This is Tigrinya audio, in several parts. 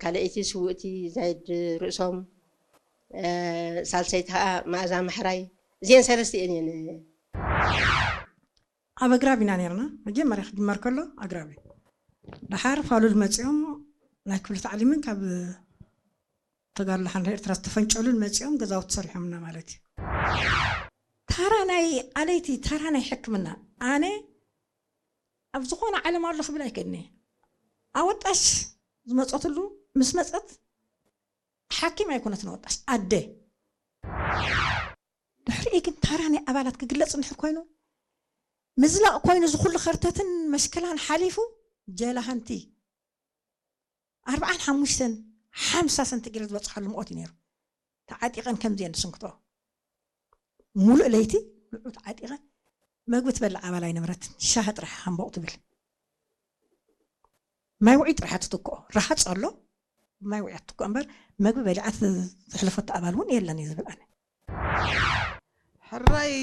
ካልኣይቲ ስውእቲ ዛይድ ርእሶም፣ ሳልሰይቲ ከዓ መኣዛ ማሕራይ። እዚአን ሰለስተ እየን እየን። ኣብ ኣግራብ ኢና ነርና። መጀመርያ ክጅመር ከሎ ኣግራብ እዩ። ደሓር ፋሉል መፂኦም ናይ ክፍሊ ታዕሊምን ካብ ተጋድሎ ሓንዳ ኤርትራ ዝተፈንጨሉን መፂኦም ገዛውቲ ሰሪሖምና ማለት እዩ። ታራ ናይ ኣለይቲ፣ ታራ ናይ ሕክምና። ኣነ ኣብ ዝኾነ ዓለም ኣሎ ክብል ኣይክእልኒ። ኣወጣሽ ዝመፀትሉ ምስ መፀት ሓኪም ኣይኮነትን ኣወጣሽ፣ ኣደ። ድሕሪኡ ግን ታራ ናይ ኣባላት ክግለፅ እንድሕር ኮይኑ፣ ምዝላቕ ኮይኑ፣ ዝኹሉ ከርተትን መሽክላን ሓሊፉ፣ ጀላሃንቲ ኣርብዓን ሓሙሽተን ሓምሳ ሰንቲግሬድ ዝበፅሓሉ ምኦት እዩ ነይሩ። ተዓጢቐን ከምዚአን ዝስንክቶ፣ ሙሉእ ለይቲ ንዑ ተዓጢቐን። መግቢ ትበልዕ ኣባል ኣይነበረትን። ሻሂ ጥራሕ ሃምቦቕ ትብል። ማይ ውዑይ ጥራሕ ትትክኦ። ረሃፅ ኣሎ፣ ማይ ውዑይ ትትክኦ እምበር፣ መግቢ በሊዓ ት-፣ ዘሕለፈቶ ኣባል እውን የለን እዩ ዝብል ኣነ። ሕራይ፣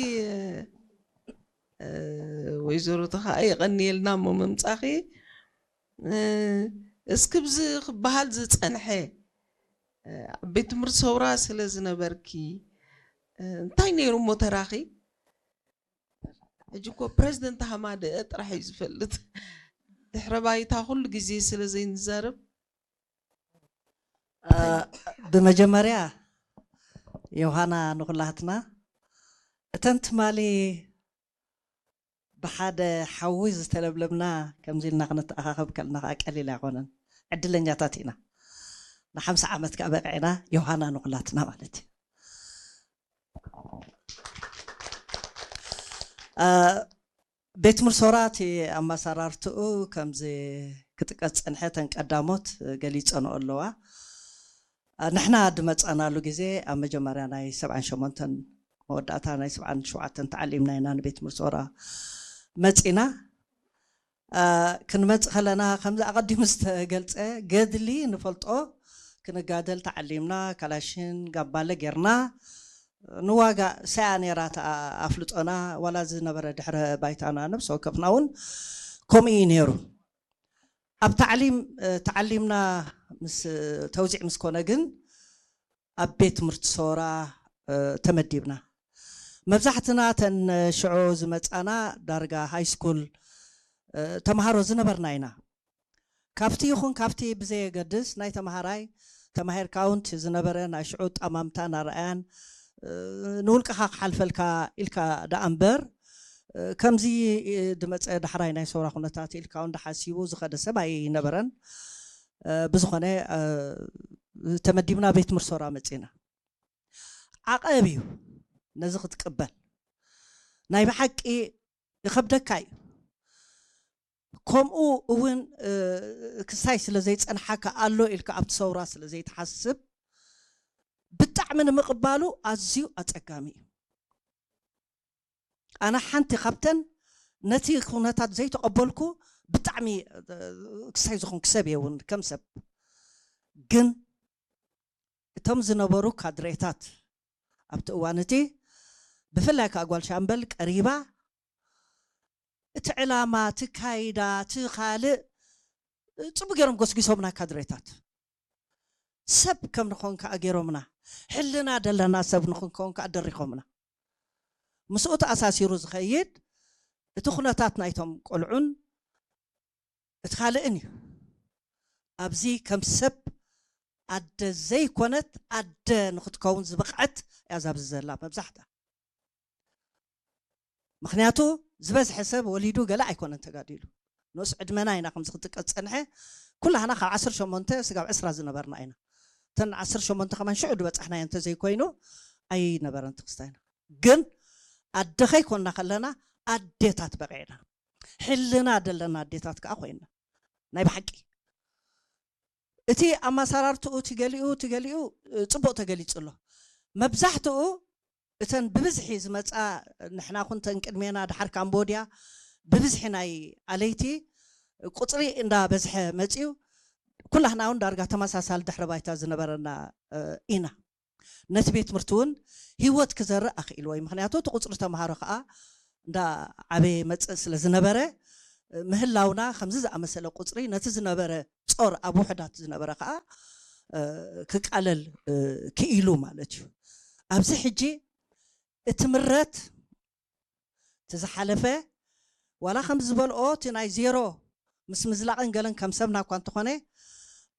እ፣ ወይዘሮ ተኸኣ የቐንየልና እሞ ምምጻኺ። እ፣ እስኪ ብዚ ክበሃል ዝጸንሐ፣ እ፣ ኣብ ቤት ትምህርቲ ሰውራ ስለ ዝነበርኪ፣ እ፣ እንታይ ነይሩ እሞ ተራኺ? ሕጂ እኮ ፕረዚደንት ሃማደአ ጥራሕ እዩ ዝፈልጥ። ድሕረ ባይታ ኩሉ ግዜ ስለ ዘይንዛረብ። እ፣ ብመጀመርያ ዮሃና ንኹላትና እተን ትማሊ ብሓደ ሓዊ ዝተለብለብና ከምዚ ኢልና ክንተኣኻኸብ ከለና ከዓ ቀሊል ኣይኮነን። ዕድለኛታት ኢና። ንሓምሳ ዓመት ከዓ በቂዕና፣ ዮሃና ንኹላትና ማለት እዩ። እ፣ ቤት ትምህርቲ ሶራ እቲ ኣመሰራርትኡ ከምዚ ክጥቀስ ዝጸንሐ እተን ቀዳሞት ገሊጸንኦ ኣለዋ። እ፣ ንሕና ዝመጻናሉ ግዜ ኣብ መጀመርያ ናይ ሰብዓን ሸሞንተን መወዳእታ ናይ ሰብዓን ሸውዓተን ተዓሊምና ኢና ንቤት ትምህርቲ ሶራ መጺና። እ፣ ክንመጽእ ከለና ከምዚ ኣቐዲሙ ዝተገልጸ ገድሊ ንፈልጦ፣ ክንጋደል ተዓሊምና፣ ካላሽን ጋባለ ጌርና፣ ንዋጋ ሳያ ነይራ እታ ኣፍልጦና፣ ዋላ ዝነበረ ድሕረ ባይታና ነብሲ ወከፍና እውን ከምኡ እዩ ነይሩ። ኣብ ታዕሊም፣ እ፣ ተዓሊምና ምስ፣ ተውዚዕ ምስ ኮነ ግን ኣብ ቤት ትምህርቲ ሶራ፣ እ፣ ተመዲብና። መብዛሕትና እተን ሽዑ ዝመጻና ዳርጋ ሃይ ስኩል፣ እ፣ ተምሃሮ ዝነበርና ኢና። ካብቲ ይኹን ካብቲ ብዘየገድስ ናይ ተምሃራይ ተማሂርካ እውን እቲ ዝነበረ ናይ ሽዑ ጠማምታን ኣረኣያን፣ እ፣ ንውልቅኻ ክሓልፈልካ ኢልካ ደኣ እምበር፣ እ፣ ከምዚ፣ እ፣ ድመጸ ዳሕራይ ናይ ሰውራ ኩነታት ኢልካ እውን ደሓሲቡ ዝኸደ ሰብ ኣይነበረን። እ፣ ብዝኾነ፣ እ፣ ተመዲብና ቤት ትምህርቲ ሶራ መጺና። ዓቐብ እዩ ነዚ ክትቅበል። ናይ ብሓቂ ይኸብደካ እዩ። ከምኡ እውን፣ እ፣ ክሳይ ስለ ዘይጸንሓካ ኣሎ ኢልካ ኣብቲ ሰውራ ስለ ዘይትሓስብ ብጣዕሚ ንምቕባሉ ኣዝዩ ኣጸጋሚ እዩ። ኣነ ሓንቲ ካብተን ነቲ ኩነታት ዘይተቐበልኩ ብጣዕሚ፣ እ፣ ክሳይ ዝኾንኩ ሰብ እየ እውን ከም ሰብ። ግን እቶም ዝነበሩ ካድሬታት ኣብቲ እዋን እቲ ብፍላይ ከዓ ጓል ሻምበል ቀሪባ እቲ ዕላማ፣ እቲ ካይዳ፣ እቲ ካልእ ጽቡቅ ገይሮም ጎስጊሶምና ካድሬታት። ሰብ ከም ንኾን ከዓ ገይሮምና። ሕልና ደለና ሰብ ንኽንከውን ከዓ ደሪኾምና። ምስኡ ተኣሳሲሩ ዝኸይድ እቲ ኩነታት ናይቶም ቆልዑን እቲ ካልእን እዩ። ኣብዚ ከም ሰብ ኣደ ዘይኮነት ኣደ ንኽትከውን ዝበቕዐት እያ ዛብዚ ዘላ መብዛሕታ። ምኽንያቱ ዝበዝሐ ሰብ ወሊዱ ገለ ኣይኮነን ተጋዲሉ። ንኡስ ዕድመና ኢና ከምዚ ክጥቀስ ጸንሐ። ኩላህና ካብ ዓሰርተ ሸሞንተ ስጋብ ዕስራ ዝነበርና ኢና። እተን ዓሰርተ ሸሞንተ ከማን ሽዑ ዝበጻሕናዮ እንተዘይኮይኑ ኣይነበረን ትኽስታይና። ግን ኣደ ከይኮንና ከለና ኣዴታት በቂዕና። ሕልና ደለና ኣዴታት ከኣ ኮይንና። ናይ ብሓቂ። እቲ ኣመሰራርትኡ፣ እቲ ገሊኡ፣ እቲ ገሊኡ፣ እ፣ ጽቡቕ ተገሊጹ ኣሎ። መብዛሕትኡ እተን ብብዝሒ ዝመጻ፣ ንሕና ኩን ተን ቅድሜና፣ ደሓር ካምቦድያ፣ ብብዝሒ ናይ ኣለይቲ ቁጽሪ እንዳበዝሐ መጺኡ፣ ኩላህና እውን ዳርጋ ተመሳሳሊ ድሕረ ባይታ ዝነበረና፣ እ፣ ኢና። ነቲ ቤት ትምህርቲ እውን ህይወት ክዘርእ ኣኽኢልዎ እዩ። ምኽንያቱ እቲ ቁጽሪ ተምሃሮ ከኣ እንዳ ዓበየ መጽእ ስለ ዝነበረ፣ ምህላውና ከምዚ ዝኣመሰለ ቁፅሪ ነቲ ዝነበረ ጾር ኣብ ውሕዳት ዝነበረ ከዓ ክቃለል ክኢሉ ማለት እዩ። ኣብዚ ሕጂ እቲ ምረት እቲ ዝሓለፈ ዋላ ከም ዝበልኦ እቲ ናይ ዜሮ ምስ ምዝላቕን ገለን ከም ሰብና እኳ እንተኾነ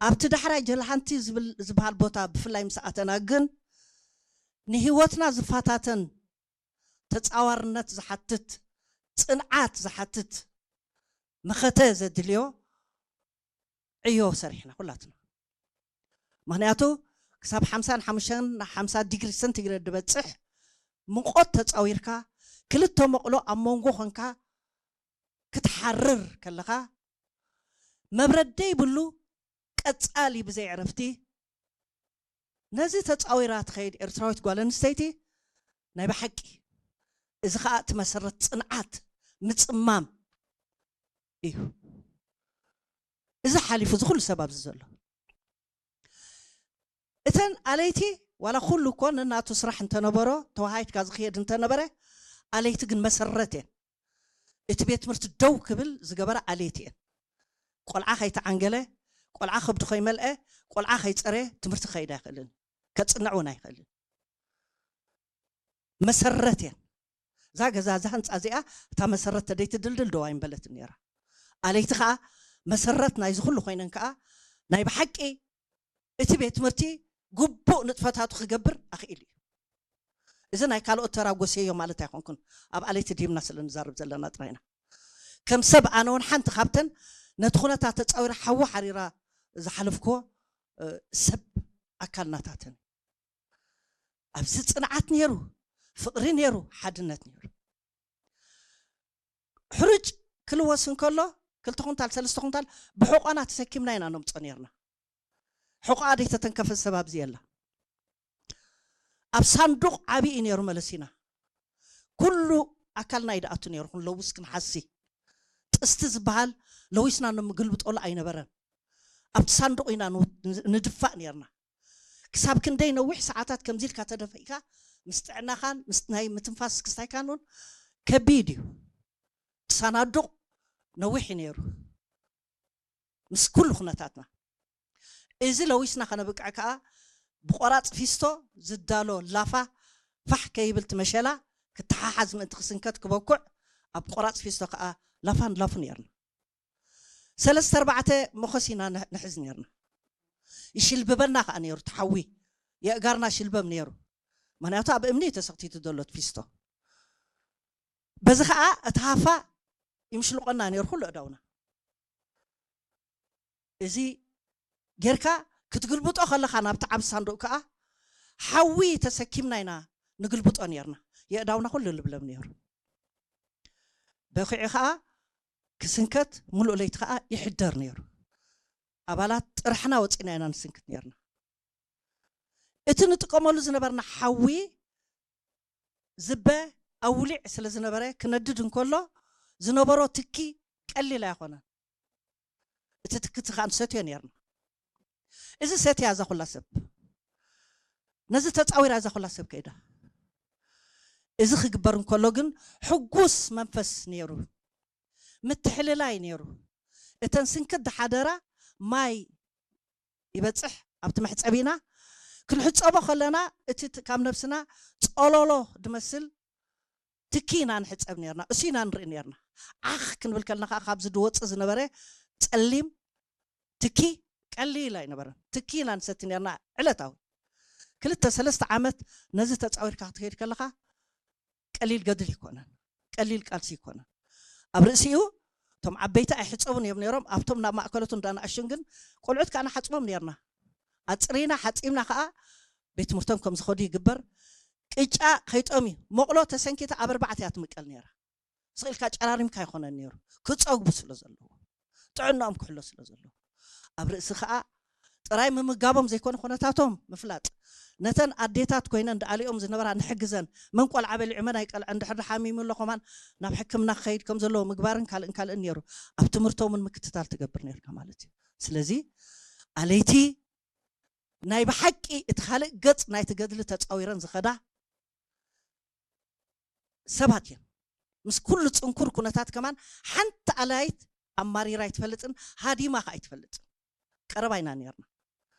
ኣብቲ ዳሕራይ ጀልሃንቲ ዝበሃል ቦታ ብፍላይ ምስ ኣተና ግን ንህይወትና ዝፈታተን ተፃዋርነት ዝሓትት ፅንዓት ዝሓትት መኸተ ዘድልዮ ዕዮ ሰሪሕና ኩላትና። ምክንያቱ ክሳብ ሓምሳን ሓሙሽተን ሓምሳ ዲግሪ ሰንቲግሬድ ዝበፅሕ ሙቆት ተፃዊርካ ክልተ መቕሎ ኣብ መንጎ ኮንካ ክትሓርር ከለኻ መብረድ ዘይብሉ ቀፃሊ ብዘይ ዕረፍቲ ነዚ ተፃዊራ ትኸይድ ኤርትራዊት ጓል ኣንስተይቲ ናይ ብሓቂ እዚ ከዓ እቲ መሰረት ፅንዓት ምፅማም እዩ። እዚ ሓሊፉ እዚ ኩሉ ሰብ ኣብዚ ዘሎ እተን ኣለይቲ ዋላ ኩሉ እኮ ነናቱ ስራሕ እንተነበሮ ተዋሃይትካ ዝኽየድ እንተነበረ ኣለይቲ ግን መሰረት እየን። እቲ ቤት ትምህርቲ ደው ክብል ዝገበረ ኣለይቲ እየን። ቆልዓ ከይተዓንገለ፣ ቆልዓ ከብዱ ከይመልአ፣ ቆልዓ ከይፀረ ትምህርቲ ክኸይድ ኣይኽእልን፣ ከፅንዕ እውን ኣይኽእልን። መሰረት እየን። እዛ ገዛ እዛ ህንፃ እዚኣ እታ መሰረት ተደይትድልድል ደው ኣይምበለትን ነይራ። ኣለይቲ ከዓ መሰረት ናይዚ ኩሉ ኮይነን ከዓ ናይ ብሓቂ እቲ ቤት ትምህርቲ ግቡእ ንጥፈታቱ ክገብር ኣኽኢሉ እዩ። እዚ ናይ ካልኦት ተራ ጎሰዮ ማለት ኣይኮንኩን፣ ኣብ ኣለይቲ ድሂምና ስለ ንዛረብ ዘለና ጥራይና። ከም ሰብ ኣነ እውን ሓንቲ ካብተን ነቲ ኩነታት ተፃዊራ ሓዊ ሓሪራ ዝሓለፍክዎ ሰብ ኣካል ናታተን ኣብዚ ፅንዓት ነይሩ፣ ፍቕሪ ነይሩ፣ ሓድነት ነይሩ። ሕሩጭ ክልወስ እንከሎ ክልተ ኩንታል ሰለስተ ኩንታል ብሕቆና ተሰኪምና ኢና ነምፆ ነርና። ሕቆኣ ደይተተንከፈ ሰብ ኣብዚ የላ። ኣብ ሳንዱቕ ዓብዪ እዩ ነይሩ መለሲና። ኩሉ ኣካልና እዩ ደኣቱ ነይሩ። ክንለውስ ክንሓሲ ጥስቲ ዝበሃል ለዊስና ንምግልብጠሉ ኣይነበረን። ኣብቲ ሳንዱቕ ኢና ንድፋእ ነርና። ክሳብ ክንደይ ነዊሕ ሰዓታት ከምዚ ኢልካ ተደፊእካ ምስ ጥዕናኻን ምስ ናይ ምትንፋስ ክስታይካን እውን ከቢድ እዩ። እቲ ሳናዱቕ ነዊሕ እዩ ነይሩ ምስ ኩሉ ኩነታትና። እዚ ለዊስና ከነብቅዕ ከዓ ብቆራፅ ፊስቶ ዝዳሎ ላፋ ፋሕ ከይብል እቲ መሸላ ክተሓሓዝ ምእንቲ ክስንከት ክበኩዕ ኣብ ቆራፅ ፊስቶ ከዓ ላፋን ላፉ ነርና። ሰለስተ ኣርባዕተ መኾስ ኢና ንሕዝ ነርና። ይሽልብበና ከዓ ነይሩ ተሓዊ የእጋርና ሽልበም ነይሩ። ምክንያቱ ኣብ እምኒ ተሰክቲቱ ዘሎ ፊስቶ በዚ ከዓ እቲ ሃፋ ይምሽልቆና ነይሩ ኩሉ እዳውና። እዚ ጌርካ ክትግልብጦ ከለኻ ናብቲ ዓብ ሳንዱቅ ከዓ ሓዊ ተሰኪምና ኢና ንግልብጦ ነርና። የእዳውና ኩሉ ልብለም ነይሩ። በኺዑ ከዓ ክስንከት ሙሉእ ለይቲ ከዓ ይሕደር ነይሩ። ኣባላት ጥራሕና ወፂና ኢና ንስንክት ነርና። እቲ ንጥቀመሉ ዝነበርና ሓዊ ዝበ ኣውሊዕ ስለ ዝነበረ ክነድድ እንከሎ ዝነበሮ ትኪ ቀሊል ኣይኮነን። እቲ ትክቲ ከዓ ንሰትዮ ነርና። እዚ ሰትያ እዛ ኩላ ሰብ ነዚ ተፃዊራ እዛ ኩላ ሰብ ከይዳ እዚ ክግበር እንከሎ ግን ሕጉስ መንፈስ ነይሩ፣ ምትሕልላይ ነይሩ። እተን ስንክት ዝሓደራ ማይ ይበፅሕ ኣብቲ መሕፀቢና ክንሕፀቦ ከለና እቲ ካብ ነብስና ፀሎሎ ድመስል ትኪ ኢና ንሕፀብ ነርና፣ እሱ ኢና ንርኢ ነርና። ዓኽ ክንብል ከለና ከዓ ካብዚ ድወፅእ ዝነበረ ፀሊም ትኪ ቀሊል ኣይነበረን። ትኪ ኢና ንሰቲ ነርና ዕለታዊ። ክልተ ሰለስተ ዓመት ነዚ ተፃዊርካ ክትከይድ ከለካ ቀሊል ገድል ይኮነን፣ ቀሊል ቃልሲ ይኮነን። ኣብ ርእሲኡ እቶም ዓበይቲ ኣይሕፀቡን እዮም ነይሮም። ኣብቶም ናብ ማእከሎቱ እንዳንኣሽቱን ግን ቆልዑት ከዓ ንሓፅቦም ነርና። ኣፅሪና ሓፂምና ከዓ ቤት ትምህርቶም ከም ዝኸዱ ይግበር። ቅጫ ከይጠምዩ መቕሎ ተሰንኪታ ኣብ ኣርባዕተ እያ ትምቀል ነይራ። ስቕ ኢልካ ጨራሪምካ ኣይኮነን ነይሩ፣ ክፀግቡ ስለ ዘለዎ፣ ጥዕናኦም ክሕሎ ስለ ዘለዎ። ኣብ ርእሲ ከዓ ጥራይ ምምጋቦም ዘይኮነ ኩነታቶም ምፍላጥ፣ ነተን ኣዴታት ኮይነን ደኣሊኦም ዝነበራ ንሕግዘን፣ መን ቆልዓ በሊዑ መን ኣይቀልዐ እንድሕር ሓሚሙ ኣሎ ከማን ናብ ሕክምና ክኸይድ ከም ዘለዎ ምግባርን ካልእን ካልእን ነይሩ። ኣብ ትምህርቶምን ምክትታል ትገብር ነርካ ማለት እዩ። ስለዚ ኣለይቲ ናይ ብሓቂ እቲ ካልእ ገፅ ናይቲ ገድሊ ተፃዊረን ዝኸዳ ሰባት እየን። ምስ ኩሉ ጽንኩር ኩነታት ከማን ሓንቲ ኣላይት ኣማሪራ ኣይትፈልጥን፣ ሃዲማ ከኣ ኣይትፈልጥን። ቀረባ ኢና ነርና።